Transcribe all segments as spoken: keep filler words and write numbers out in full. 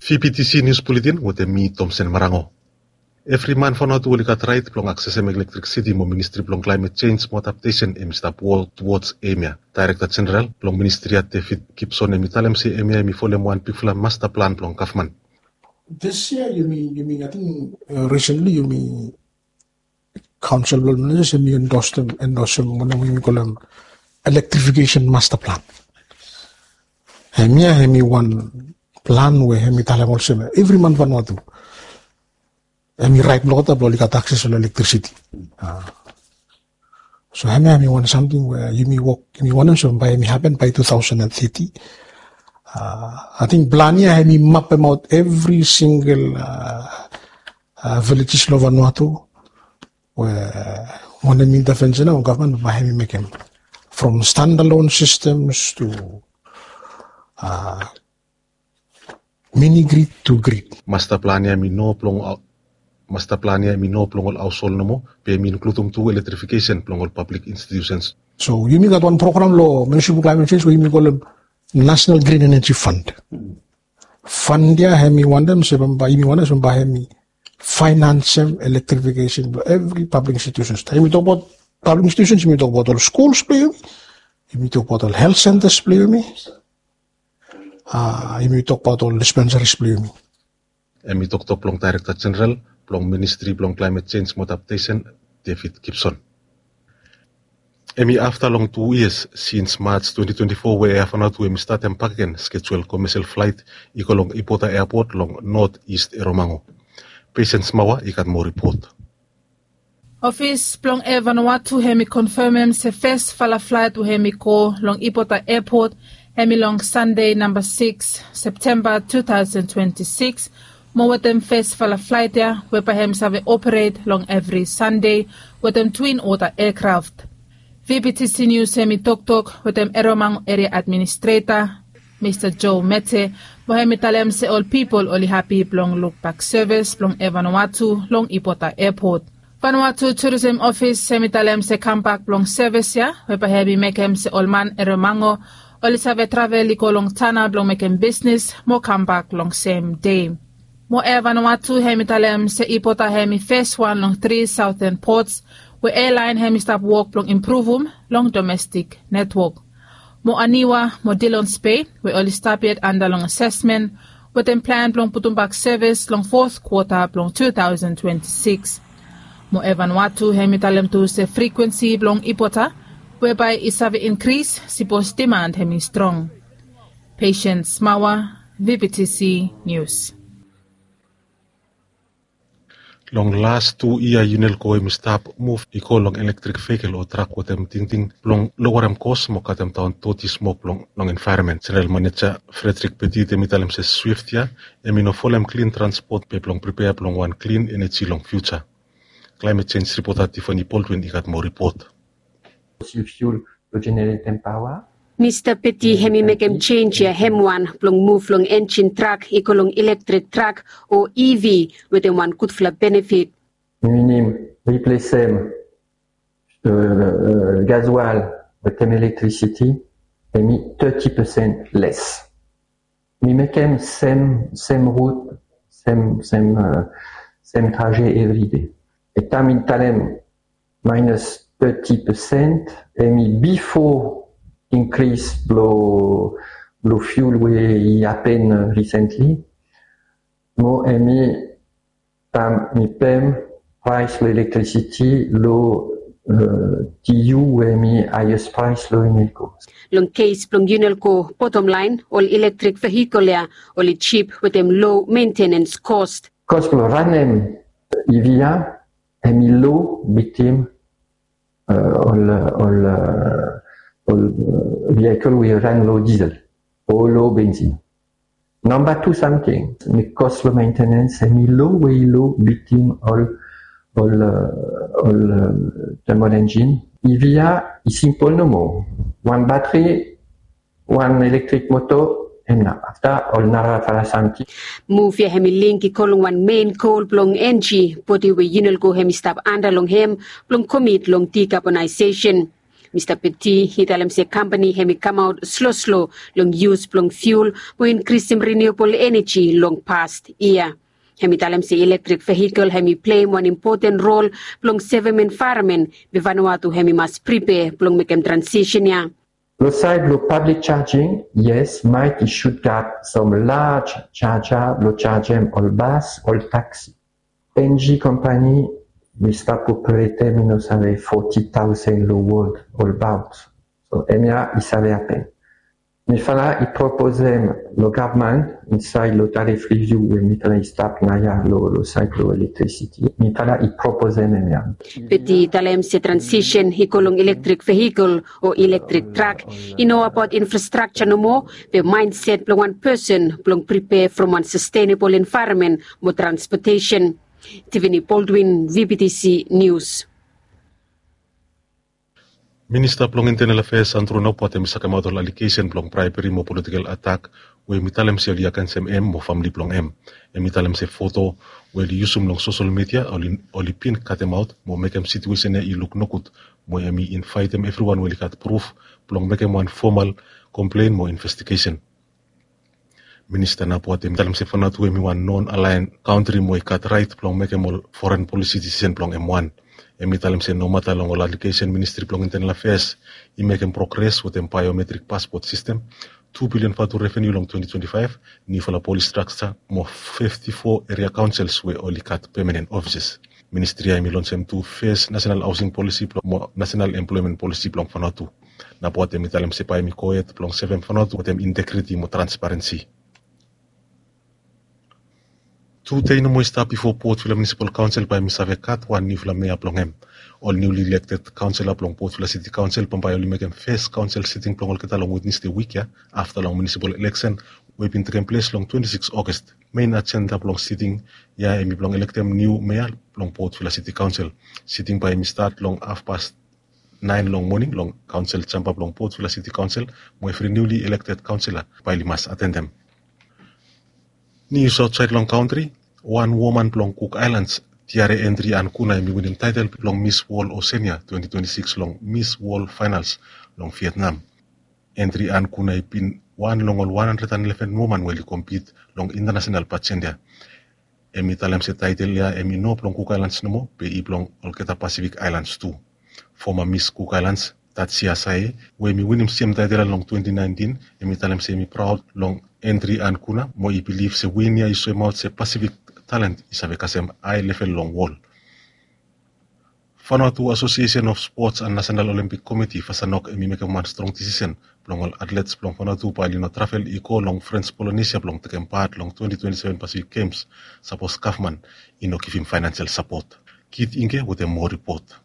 T P T C News Bulletin wetem mi Tomsen Marango. Evri man Vanuatu oli gat rait blong aksesem elektrisiti mo Ministri blong Klaimet Jenj mo Adaptesen hemi stap wok tuwods eim ya. Daerekta Jeneral blong ministri ya, David Gibson, hemi talem se eim ya hemi folem wan bigfala masta plan blong gavman. This year, yumi, yumi, I think, uh, recently, yumi Council blong Ministers hemi endorse them, endorse them, wanem yumi kolem electrification master plan. Hemia hemi wan plan we hemi talem olsem evri man Vanuatu hemi rait blong olgeta blong oli gat access long electricity. Ah. So hemia hemi wan samting we yumi wok, yumi wantem se bae hemi hapen by two thousand and thirty. Ah, I think plan ia hemi mapemaot evri single, ah, ah, villages long Vanuatu we wanem intervention o gavman bae hemi mekem, from standalone systems to, ah, mini grid to grid. Master plan ia hemi no blong, master plan ia hemi no blong ol haoshol nomo, be hemi inkludum tu electrification blong ol public institutions. So yumi gat wan program long Ministry of Climate Change we yumi kolem National Green Energy Fund. Fund ia hemi wantem se bambae, yumi wantem se bambae hemi financem electrification blong evri public institutions. Taem yumi tokbaot public institutions, yumi tokbaot ol schools blong yumi, yumi tokbaot ol health centers blong yumi, ah, yumi tokbaot ol dispensaries blong yumi. Hemi toktok blong Daerekta Jeneral blong Ministri blong Klaimet Jenj mo Adaptesen, David Gibson. Hemi afta long tu yias sins March twenty twenty-four we Air Vanuatu hemi statem bakegen skejul komesel flaet i go long Ipota Airport long North East Eromango. Patience Mawa i gat moa ripot. Ofis blong Air Vanuatu hemi konfemem se fesfala flaet we hemi go long Ipota Airport hemi long Sande namba sikis Septemba two thousand twenty-six, mo wetem fesfala flaet ia we bae hemi save operet long evri Sande wetem twin ota aircraft. V P T C News hemi toktok wetem Eromango Area Administrator, Mista Joe Mete, mo hemi talem se ol pipol oli hapi blong lukbak sevis blong Air Vanuatu long Ipota Airport. Vanuatu Tourism Office hemi talem se kambak blong sevis ia we bae hemi mekem se ol man Eromango oli save travel i go long Tanna blong mekem bisnis mo kambak long sem dei. Mo Air Vanuatu hemi talem se Ipota hemi fes wan long tri Southern ports we airline hemi stap wok blong impruvum long domestic network. Mo Aniwa mo Dillons Bay we oli stap yet anda long asesmen, wetem plan blong putumbak sevis long fourth quarter blong two thousand twenty-six. Mo Air Vanuatu hemi talem tu se frikwensi blong Ipota we bae i save inkris sipos demand hemi strong. Patience Mawa, V P T C News. Long las tu yia, UNELCO hemi stap muv i go long elektrik vehikel o trak wetem tingting blong lowarem kos mo katemdaon doti smok blong long envaeronmen. Jeneral Maneja Frederick Petit hemi talem se SWIFT ia hemi no folem klin transpot be blong pripea blong wan klin eneji long fiuja. Climate Change ripota Tiffany Baldwin i gat moa ripot. Fossil fuel blong jeneretem paoa. Mista Petit hemi mekem jenj ia hem wan blong muv long enjin trak i go long elektrik trak o E V wetem wan gudfala benefit. Minim riplesem, eh, eh, gasoil wetem elektrisiti, hemi thirty percent less. Mi mekem sem, sem rut, sem, sem, eh, sem trajet everyday. E taem mi talem minus thirty percent, hemi bifo increase blo, blo fuel we i hapen recently. Mo hemi taem mi pem praes blo elektrisiti lo, eh, T U we hemi highest praes lo UNELCO. Long kes blong UNELCO, bottom line, ol elektrik vehikel ia oli jip wetem low maintenance cost. Kos blo ranem E V ia hemi lo bitim, eh, ol, ol, eh, ol, eh, vehikel we i ran lo diesel o lo benzin. Namba tu samting, mi kos blo maintenance hemi lo we i lo bitim ol, ol, eh, ol, eh, thermal engine. E V ia i simpol nomo. Wan batri, wan elektrik moto, hemia. Afta ol narafala samting. Muv ia hemi link i go long wan mein gol blong enji bodi we UNELCO hemi stap anda long hem blong komit long dekarbonaesesen. Mista Peti i talem se kampani hem i kamaot sloslo long yus blong fiul mo inkrisim riniuabol eneji long past yia. Hem i talem se ilektrek vehikel hem i pleim wan impoten rol blong sevem envaeronmen be Vanuatu hem i mas pripea blong mekem transisen ya. Lo saed lo pablik jajing, yes, Mike i sutap sam laj jaja blo jajem ol bas, ol taksi. Enji kampani mi stap operetem i no save foti taosen lo wod olbaot. So hemia i save hapen. Mifala i proposem lo gavman insaed lo tarif riviu we mifala i stap naoia lo, lo saed lo elektrisiti. Mifala i proposem hemia. Peti i talem se transisen i go long ilektrek vehikel o ilektrek trak i no abaot infrastrakja nomo, be maenset blong wan pesen blong pripea from wan sastenabol envaeronmen mo transpotesen. Tiffany Baldwin, V B T C News. Minista blong Intenal Afeas Andrew Napuat hem i sakemaot ol alegesen blong braebri mo politikel atak we hem i talem se oli agensem hem mo famle blong hem. Hem i talem se foto we oli yusum long sosel midia oli, oli bin katemaot mo mekem situesen ya i luk nogud, mo hem i invaetem evriwan we oli gat pruf blong mekem wan fomal komplen mo investigesen. Minista Napuat hem i talem se Vanuatu hem i wan non-alian kantri mo i gat raet blong mekem ol foren polisi disisen blong hem wan. Hem i talem se nomata long ol alegesen Ministri blong Intenal Afeas i mekem progres wetem biometrik paspot sistem, tu bilion vatu reveniu long twenti twenti faef, niufala polis strakja mo fifti fo eria kaonsels we oli gat pemanen ofises. Ministri ya hem i lonsem tu fes nasenal haosing polisi blong, mo nasenal emploemen polisi blong Vanuatu. Napuat hem i talem se bae hem i gohed blong sevem Vanuatu wetem integriti mo transparensi. Tu dei nomo i stap bifo Port Vila Munisipal Kaonsel bae hem i save gat wan niufala mea blong hem. Ol niuli ilekted kaonsela blong Port Vila Siti Kaonsel bambae oli mekem fes kaonsel siting blong olgeta long Wednesde wik ya afta long munisipal eleksen we i bin tekem ples long twenti sikis August. Mein ajenda blong siting ya hem i blong elektem niu mea blong Port Vila Siti Kaonsel. Siting bae hem i stat long hafpas naen long moning long kaonsel jamba blong Port Vila Siti Kaonsel, mo evri niuli elekted kaonsela bae oli mas atendem. Nius aotsaed long kantri, wan woman blong Cook Islands, Tiare Entri Ankuna hem i winim taetel blong Mis Wol Osenia twenti twenti sikis long Mis Wol Faenals long Vietnam. Entri Ankuna i bin wan long ol wan handred and eleven woman we oli kompit long intanasenal pajent ya. Hem i talem se taetel ya hem i no blong Cook Islands nomo, be i blong olgeta Pasifik Aelans tu. Foma Mis Cook Islands, Tatsia Sae, we hem i winim sem taetel ya long twenti naentin, hem i talem se hem i praod long Entri Ankuna, mo i bilif se win ya i soemaot se Pasifik talent i save kasem hae level long wol. Vanuatu Association of Sports and National Olympic Committee, Vasanok, hem i mekem wan strong disisen blong ol atlets blong Vanuatu bae oli no travel i go long French Polynesia blong tekem pat long twenti twenti seven Pacific Games, sapos gavman i no givim faenasel sapot. Kit Ingke wetem moa ripot.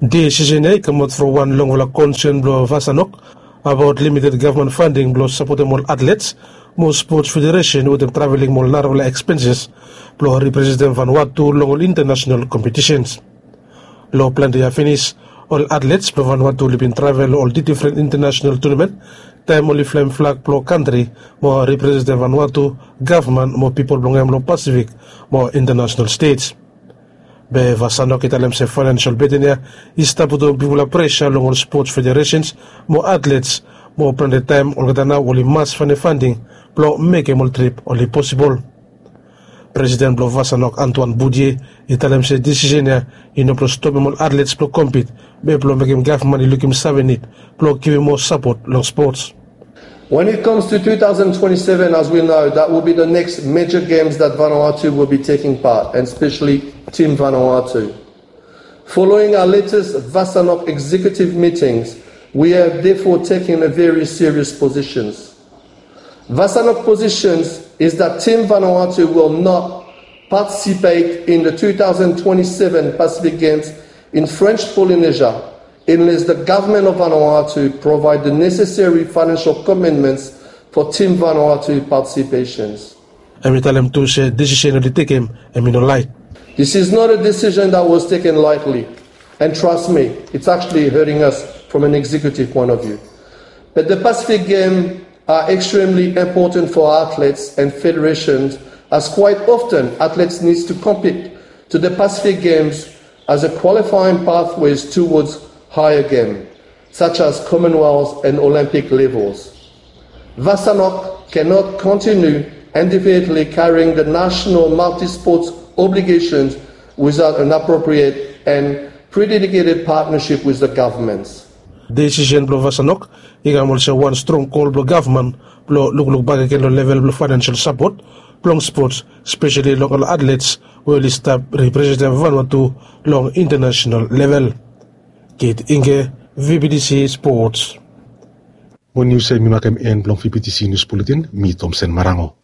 Disisen ya i kamaot from wan longfala konsen blong Vasanok abaot limited gavman fanding blong sapotem ol atlets mo spots federesen wetem traveling mo ol narafala ekspenses blong representem Vanuatu long ol intanasenal kompetisens. Long plante ya finis, ol atlets blong Vanuatu oli bin travel long ol difren intanasenal tunamen taem oli flaem flag blong kantri mo representem Vanuatu, gavman mo pipol blong hem long Pasifik mo intanasenal stej. Be Vasanok i talem se faenasel beten ya i stap putum bigfala presa long ol spots federesens mo atlets, mo plante taem olgeta nao oli mas faenem fanding blong mekem ol trip oli posibol. Presiden blong Vasanok, Antoine Boudier, i talem se disisen ya i no blong stopem ol atlets blong kompit, be blong mekem gavman i lukim save nid blong givim moa sapot long spots. When it comes to two thousand twenty-seven, as we know, that will be the next major games that Vanuatu will be taking part, and especially Team Vanuatu. Following our latest Vasanok executive meetings, we have therefore taken a very serious positions. Vasanok positions is that Team Vanuatu will not participate in the two thousand twenty-seven Pacific Games in French Polynesia unless the government of Vanuatu provide the necessary financial commitments for Team Vanuatu participations. Hem i talem tu se disisen oli tekem hem i no laet. This is not a decision that was taken lightly, and trust me, it's actually hurting us from an executive point of view. But the Pacific Games are extremely important for athletes and federations, as quite often athletes needs to compete to the Pacific Games as a qualifying pathways towards higher game. such as Commonwealth and Olympic levels. Vasanok cannot continue indefinitely carrying the national multi-sports obligations without an appropriate and pre-dedicated partnership with the governments. Desisen blong Vasanok i kam olsem wan strong kol blong gavman blong lukluk bakegen long level blong fainensel sapot blong spots, speseli long ol atlets we oli stap representem Vanuatu long intanasenal level. Kit Inge, V B T C Sports. Mo nius ya i makem en blong V B T C Nius Buletin, mi Tomsen Marango.